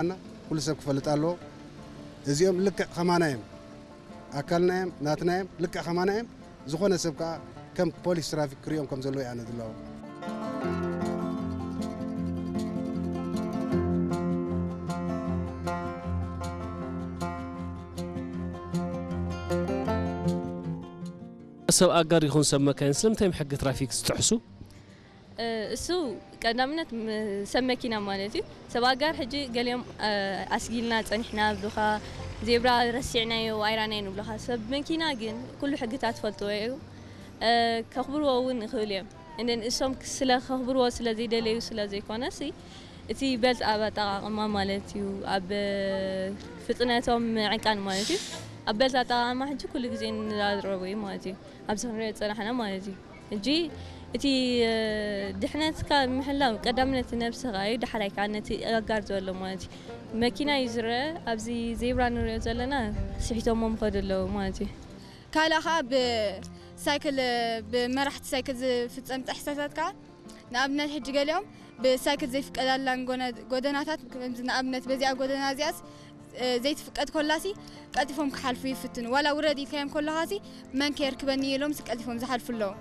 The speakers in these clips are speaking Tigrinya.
ኣና ኩሉ ሰብ ክፈልጥ ኣለዎ። እዚኦም ልክዕ ከማና እዮም፣ ኣካልና እዮም፣ ናትና እዮም፣ ልክዕ ከማና እዮም። ዝኾነ ሰብ ከዓ ከም ፖሊስ ትራፊክ ክሪኦም ከም ዘለዎ እየ ኣነ ዝለዎ። ሰብ ኣጋር ይኹን ሰብ መካይን ስለምንታይ እዮም ሕጊ ትራፊክ ዝጥሕሱ? እሱ ቀዳምነት ም- ሰብ መኪና ማለት እዩ። ሰብ ኣጋር ሕጂ ገሊኦም ኣስጊልና ጸኒሕና ብሉኻ፣ ዜብራ ረሲዕናዮ ኣይራናይን ብሉኻ። ሰብ መኪና ግን ኩሉ ሕግታት ፈልጥዎ እዩ። ከኽብርዎ እውን ይኽእሉ እዮም። እንደን እሶም ስለ ከኽብርዎ ስለ ዘይደለዩ ስለ ዘይኮነ ሲ እቲ በልት ኣብ ኣጠቃቅማ ማለት እዩ፣ ኣብ ፍጥነቶም ምዕቃን ማለት እዩ። ኣብ በልት ኣጠቃቅማ ሕጂ ኩሉ ግዜ ንራረቡ እዩ ማለት እዩ፣ ኣብዚ ክንሪኦ ዝፀናሕና ማለት እዩ። ሕጂ እቲ ድሕነትካ ምሕላው ቀዳምነት ነብስኻ እዩ፣ ዳሕራይ ከዓ ነቲ ኣጋር ዘሎ ማለት እዩ። መኪና እዩ ዝረአ፣ ኣብዚ ዜብራ ንሪኦ ዘለና ስሒቶሞ ምኸዱ ኣለዉ ማለት እዩ። ካልእ ከዓ ብሳይክል ብመራሕቲ ሳይክል ዝፍፀም ጥሕሰታት ከዓ ንኣብነት ሕጂ ገሊኦም ብሳይክል ዘይፍቀዳላን ጎነ- ጎደናታት ከምዚ ንኣብነት በዚኣ ጎደና እዚኣስ ዘይትፍቀድ ኮላሲ ቀልጢፎም ክሓልፉ ይፍትኑ። ዋላ ውረድ ኢልካዮም ኮለኻሲ መን ከየርክበኒ ኢሎም ቀልጢፎም ዝሓልፉ ኣለዉ።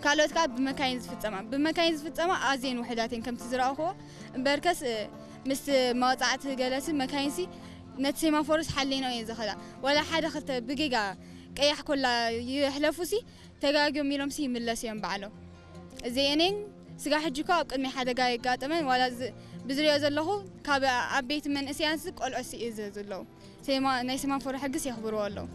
ካልኦት ከዓ ብመካይን ዝፍፀማ ብመካይን ዝፍፀማ ኣዝየን ውሕዳት እየን ከምቲ ዝረኣኹዎ። እምበርከስ ምስ መወፃዕቲ ገለሲ መካይንሲ ነቲ ሴማፎርስ ሓሊኖ እየን ዝኸዳ። ዋላ ሓደ ክልተ ብጌጋ ቀያሕ ኮላ ይሕለፉሲ ተጋግዮም ኢሎምሲ ይምለሱ እዮም ባዕሎም። እዚኤኔን ስጋ ሕጂ እኮ ኣብ ቅድሚ ሓደጋ የጋጠመን ዋላ ዝ- ብዝሪኦ ዘለኹ ካብ ዓበይቲ መንእሰያንሲ ቆልዖ ስእዘ ዘለዉ ሴማ- ናይ ሴማፎር ሕግስ የኽብርዎ ኣለዉ።